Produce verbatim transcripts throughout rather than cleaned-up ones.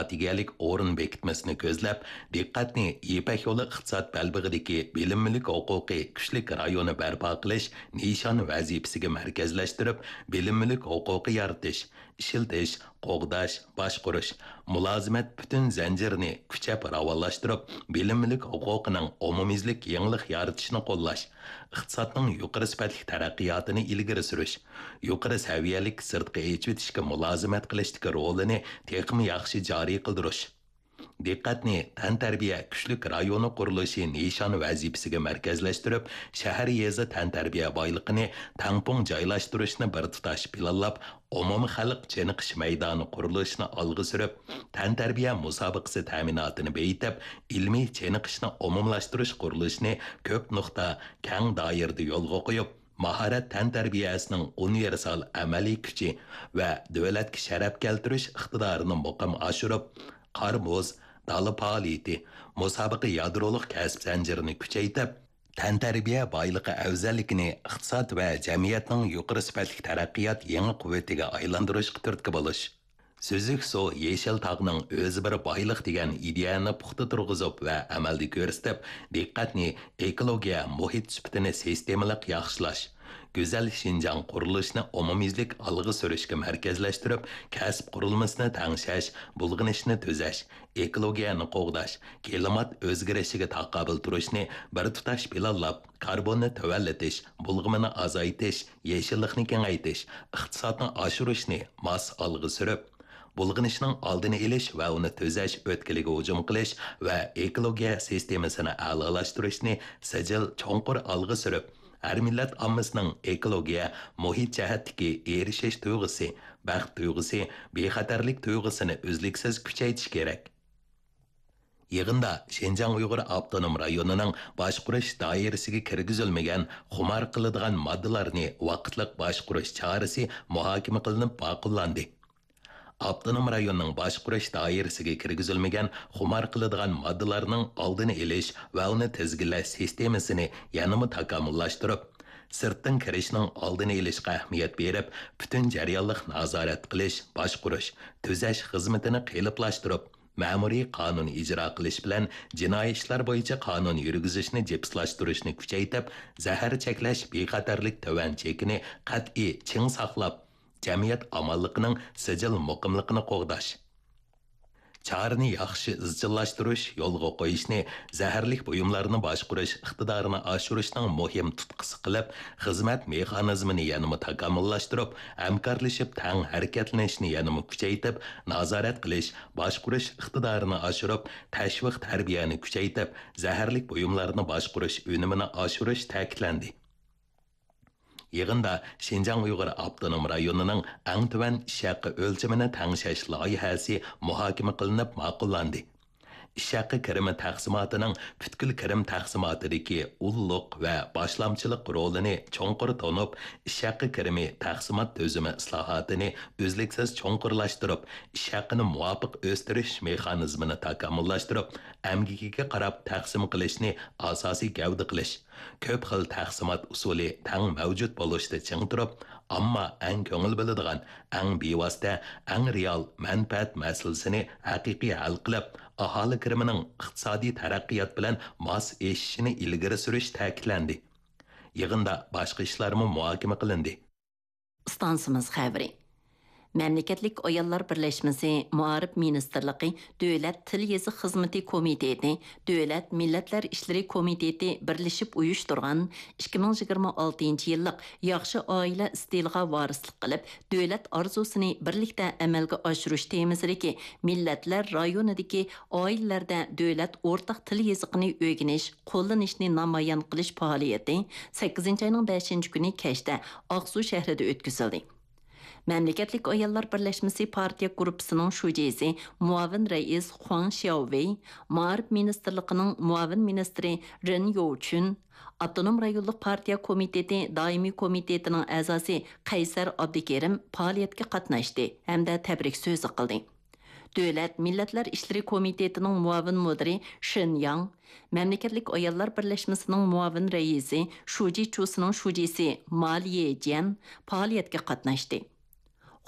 ئىگىلىك ئورۇن بېكىتمىسىنى كۆزلەپ، دىققەتنى يىپەك يولى ئىقتىساد بەلبېغىدىكى بىلىم مۈلۈك ھوقۇقى كۈچلۈك رايونى بەرپا قىلىش نىشان ۋەزىپىسىگە مەركەزلەشتۈرۈپ، بىلىم مۈلۈك ھوقۇقى يارىتىش، ئىشلىتىش، قوغداش، باشقۇرۇش، مۇلازىمەت پۈتۈن زەنجىرىنى كۈچەپ راۋانلاشتۇرۇپ، بىلىم مۈلۈك ھوقۇقىنىڭ ئومۇميۈزلۈك يېڭىلىق يارىتىشنى قوللاش، ئىقتىسادنىڭ يۇقىرى سۈپەتلىك تەرەققىياتىنى ئىلگىرى سۈرۈش، يۇقىرى سەۋىيەلىك سىرتقا ئېچىۋېتىشكە مۇلازىمەت قىلىشتىكى رولىنى تېخىمۇ ياخشى جارى قىلدۇرۇش. دىققەتنى تەنتەربىيە كۈچلۈك رايونى قۇرۇلۇشى نىشان ۋەزىپىسىگە مەركەزلەشتۈرۈپ، شەھەر، يېزا تەنتەربىيە بايلىقىنى تەڭپۇڭ جايلاشتۇرۇشنى بىر تۇتاش پىلانلاپ، ئومۇمىي خەلق چېنىقىش مەيدانى قۇرۇلۇشىنى ئالغا سۈرۈپ، تەنتەربىيە مۇسابىقىسى تەمىناتىنى بېيىتىپ، ئىلمىي چېنىقىشنى ئومۇملاشتۇرۇش قۇرۇلۇشىنى كۆپ نۇقتا، كەڭ دائىرىدە يولغا قويۇپ، ماھارەت تەنتەربىيەسىنىڭ ئۇنىۋېرسال ئەمەلىي كۈچى ۋە دۆلەتكە شەرەپ كەلتۈرۈش ئىقتىدارىنى مۇقىم ئاشۇرۇپ، قار-مۇز، دالا پائالىيىتى، مۇسابىقە يادرولۇق كەسىپ زەنجىرىنى كۈچەيتىپ، تەنتەربىيە بايلىقى ئەۋزەللىكىنى ئىقتىساد ۋە جەمئىيەتنىڭ يۇقىرى سۈپەتلىك تەرەققىيات يېڭى قۇۋۋىتىگە ئايلاندۇرۇشقا تۈرتكە بولۇش. سۈزۈك سۇ، يېشىل تاغنىڭ ئۆزى بىر بايلىق دېگەن ئىدىيەنى پۇختا تۇرغۇزۇپ ۋە ئەمەلدە كۆرسىتىپ، دىققەتنى ئېكولوگىيە مۇھىت سۈپىتىنى سىستېمىلىق ياخشىلاش، گۈزەل شىنجاڭ قۇرۇلۇشىنى ئومۇميۈزلۈك ئالغا سۈرۈشكە مەركەزلەشتۈرۈپ، كەسىپ قۇرۇلمىسىنى تەڭشەش، بۇلغىنىشنى تۈزەش، ئېكولوگىيەنى قوغداش، كىلىمات ئۆزگىرىشىگە تاقابىل تۇرۇشنى بىر تۇتاش پىلانلاپ، كاربوننى تۆۋەنلىتىش، بۇلغىمىنى ئازايتىش، يېشىللىقنى كېڭەيتىش، ئىقتىسادنى ئاشۇرۇشنى ماس ئالغا سۈرۈپ، بۇلغىنىشنىڭ ئالدىنى ئېلىش ۋە ئۇنى تۈزەش ئۆتكىلىگە ھۇجۇم قىلىش ۋە ئېكولوگىيە سىستېمىسىنى ئەلالاشتۇرۇشنى سىجىل چوڭقۇر ئالغا سۈرۈپ، ھەر مىللەت ئاممىسىنىڭ ئېكولوگىيە، مۇھىت جەھەتتىكى ئېرىشىش تۇيغۇسى، بەخت تۇيغۇسى، بىخەتەرلىك تۇيغۇسىنى ئۈزلۈكسىز كۈچەيتىش كېرەك. يىغىندا شىنجاڭ ئۇيغۇر ئاپتونوم رايونىنىڭ باشقۇرۇش دائىرىسىگە كىرگۈزۈلمىگەن خۇمار قىلىدىغان ماددىلارنى ۋاقىتلىق باشقۇرۇش چارىسى مۇھاكىمە قىلىنىپ ماقۇللاندى. ئاپتونوم رايوننىڭ باشقۇرۇش دائىرىسىگە كىرگۈزۈلمىگەن خۇمار قىلىدىغان ماددىلارنىڭ ئالدىنى ئېلىش ۋە ئۇنى تىزگىنلەش سىستېمىسىنى يەنىمۇ تاكامۇللاشتۇرۇپ، سىرتتىن كىرىشنىڭ ئالدىنى ئېلىشقا ئەھمىيەت بېرىپ، پۈتۈن جەريانلىق نازارەت قىلىش، باشقۇرۇش، تۈزەش خىزمىتىنى قېلىپلاشتۇرۇپ، مەمۇرىي قانۇن ئىجرا قىلىش بىلەن جىنايى ئىشلار بويىچە قانۇن يۈرگۈزۈشنى جىپسلاشتۇرۇشنى كۈچەيتىپ، زەھەر چەكلەش بىخەتەرلىك تۆۋەن چېكىنى قەتئىي چىڭ ساقلاپ، جەمئىيەت ئامانلىقىنىڭ سىجىل مۇقىملىقىنى قوغداش. چارىنى ياخشى ئىزچىللاشتۇرۇش، يولغا قويۇشنى زەھەرلىك بۇيۇملارنى باشقۇرۇش ئىقتىدارىنى ئاشۇرۇشنىڭ مۇھىم تۇتقىسى قىلىپ، خىزمەت مېخانىزمىنى يەنىمۇ تاكامۇللاشتۇرۇپ، ھەمكارلىشىپ تەڭ ھەرىكەتلىنىشنى يەنىمۇ كۈچەيتىپ، نازارەت قىلىش، باشقۇرۇش ئىقتىدارىنى ئاشۇرۇپ، تەشۋىق تەربىيەنى كۈچەيتىپ، زەھەرلىك بۇيۇملارنى باشقۇرۇش ئۈنۈمىنى ئاشۇرۇش تەكىتلەندى. يىغىندا شىنجاڭ ئۇيغۇر ئاپتونوم رايونىنىڭ ئەڭ تۆۋەن ئىش ھەققى ئۆلچىمىنى تەڭشەش لايىھەسى مۇھاكىمە قىلىنىپ ماقۇللاندى. ئىش ھەققى كىرىمى تەقسىماتىنىڭ پۈتكۈل كىرىم تەقسىماتىدىكى ئۇللۇق ۋە باشلامچىلىق رولىنى چوڭقۇر تونۇپ، ئىش ھەققى كىرىمى تەقسىمات تۈزۈمى ئىسلاھاتىنى ئۈزلۈكسىز چوڭقۇرلاشتۇرۇپ، ئىش ھەققىنى مۇۋاپىق ئۆستۈرۈش مېخانىزمىنى تاكامۇللاشتۇرۇپ، ئەمگىكىگە قاراپ تەقسىم قىلىشنى ئاساسىي گەۋدە قىلىش، كۆپ خىل تەقسىمات ئۇسۇلى تەڭ مەۋجۇت بولۇشتا چىڭ تۇرۇپ، ئامما ئەڭ كۆڭۈل بۆلىدىغان، ئەڭ بىۋاسىتە، ئەڭ رېئال مەنپەئەت مەسىلىسىنى ھەقىقىي ھەل قىلىپ، ئاھالە كىرىمىنىڭ ئىقتىسادىي تەرەققىيات بىلەن ماس ئېشىشىنى ئىلگىرى سۈرۈش تەكىتلەندى. يىغىندا باشقا ئىشلارمۇ مۇھاكىمە قىلىندى. ئىستانسىمىز خەۋىرى. مەملىكەتلىك ئاياللار بىرلەشمىسى، مائارىپ مىنىستىرلىقى، دۆلەت تىل يېزىق خىزمىتى كومىتېتى، دۆلەت مىللەتلەر ئىشلىرى كومىتېتى بىرلىشىپ ئۇيۇشتۇرغان ئىككى مىڭ يىگىرمە ئالتىنچى يىللىق ياخشى ئائىلە ئىستىلىغا ۋارىسلىق قىلىپ، دۆلەت ئارزۇسىنى بىرلىكتە ئەمەلگە ئاشۇرۇش تېمىسىدىكى مىللەتلەر رايونىدىكى ئائىلىلەردە دۆلەت ئورتاق تىل يېزىقىنى ئۆگىنىش، قوللىنىشنى نامايان قىلىش پائالىيىتى سەككىزىنچى ئاينىڭ بەشىنچى كۈنى كەچتە ئاقسۇ شەھىرىدە ئۆتكۈزۈلدى. مەملىكەتلىك ئاياللار بىرلەشمىسى پارتىيە گۇرۇپپىسىنىڭ شۇجىسى، مۇئاۋىن رەئىس خۇاڭ شياۋۋېي، مائارىپ مىنىستىرلىقىنىڭ مۇئاۋىن مىنىستىرى رېن يوۋچۈن، ئاپتونوم رايونلۇق پارتىيە كومىتېتى دائىمىي كومىتېتىنىڭ ئەزاسى قەيسەر ئابدۇكېرىم پائالىيەتكە قاتناشتى ھەمدە تەبرىك سۆزى قىلدى. دۆلەت مىللەتلەر ئىشلىرى كومىتېتىنىڭ مۇئاۋىن مۇدىرى شېن ياڭ، مەملىكەتلىك ئاياللار بىرلەشمىسىنىڭ مۇئاۋىن رەئىسى شۇجى چۇسىنىڭ شۇجىسى ما ليېجيەن پائالىيەتكە قاتناشتى.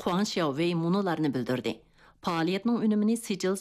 خۇاڭ شياۋۋېي مۇنۇلارنى بىلدۈردى: پائالىيەتنىڭ ئۈنۈمىنى سىجىل